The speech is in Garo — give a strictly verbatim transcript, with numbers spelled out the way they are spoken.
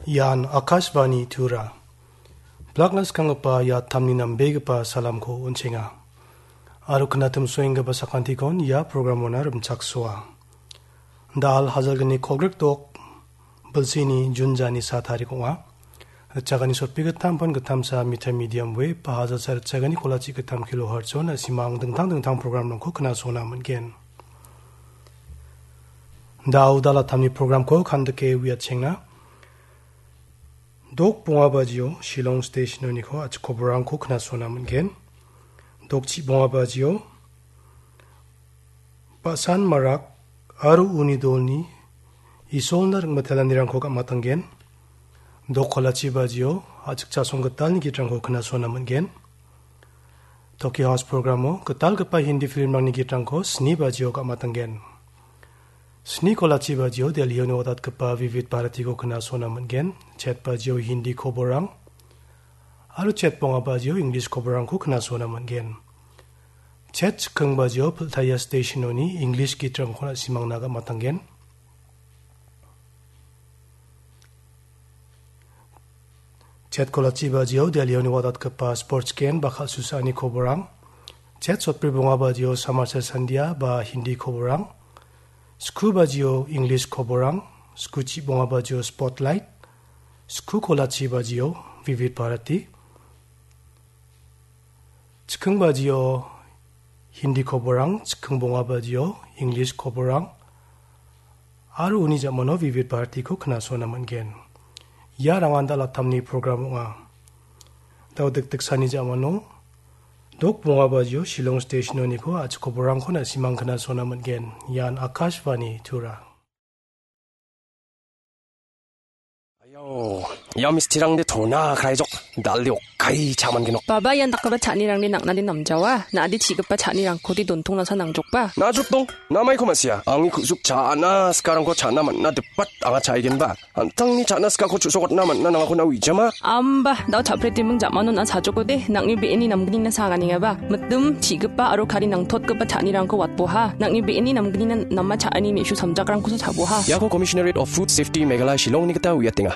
Ian Akashvani Tura. Blakna skanggipa ia tamni nambegipa salamko on·chenga. Aro knatim soenggipa sakantikon ia programona rimchaksoa. Da·al hajalgni kolgrik dok bilsini Jun jani sa tarik ong·a. Ritchagani sotpi gittam pon gittamsa meter medium wave ba hajalsa ritchagani kolachi gittam kilohertz-o na·simang dingtang dingtang programrangko knasona man·gen. Da·o da·al tamni programko kandike uiatchengna. Dok bonga bajio Shillong Station-oniko a·chik koborangko knasona man·gen. Dok chi bonga bajio Basan Marak aro uni dolni Isolna ringmitelanirangko gam·atanggen. Dok kolachi bajio a·chik Chasong Gitalni gitrangko knasona man·gen. Tokyo House programo gitalgipa Hindi filmrangni gitrangko sni bajio gam·atanggen. Sni kolachi bajio Delhio niodatgipa Vivid Bharatiko knasona man·gen. Chet bajio Hindi koborang aro chet bonga bajio English koborangko knasona man·gen. Chet chikking bajio Piltaya Station-oni English gitrangko na·simangna gam·atanggen. Chet kolachi bajio Delhio niodatgipa sports game ba kal·susaani koborang. Chet sotbri bonga bajio Samachar Sandhya ba Hindi koborang. Sku bajio English koborang. Sku chi bonga bajio Spotlight. Sku kolachi bajio Vivid Bharati. Chikking bajio Hindi koborang, chikking bonga bajio English koborang, aro uni ja·mano Vivid Bharatiko knasona man·gen. Ia rangan da·al tamni program ong·a. Da·o dikdiksani ja·mano dok bonga bajio Shillong Station-oniko a·chik koborangko na·simang knasona man·gen. Ian Akashvani Tura. Ayo, ia mistirangde tona kraijok, dalde okkai cha·mangenok. Baba, ian dakgipa cha·anirangde nang·nade namjawa, na·ade chi·gipa cha·nirangkode dontongnasa nangjokba. Na·jokdong, namaiko ma·sia, angni ku·suk cha·na sikarangko cha·na man·na dipat anga cha·aigenba. An·tangni cha·na sikako chu·sokatna man·na nangako na uijama. Amba, da·o cha·pretiming ja·mano na·a chajokode, nang·ni be·eni namgnina sa anganengaba. Mitim, chi·gipa aro kari nangtotgipa cha·anirangko watboha. Nang·ni be·eni namgnina nama cha·ani me·su samjakrangkosa chaboha. Iako Commissionerate of Food Safety Meghalaya Shillongni gita uiatenga.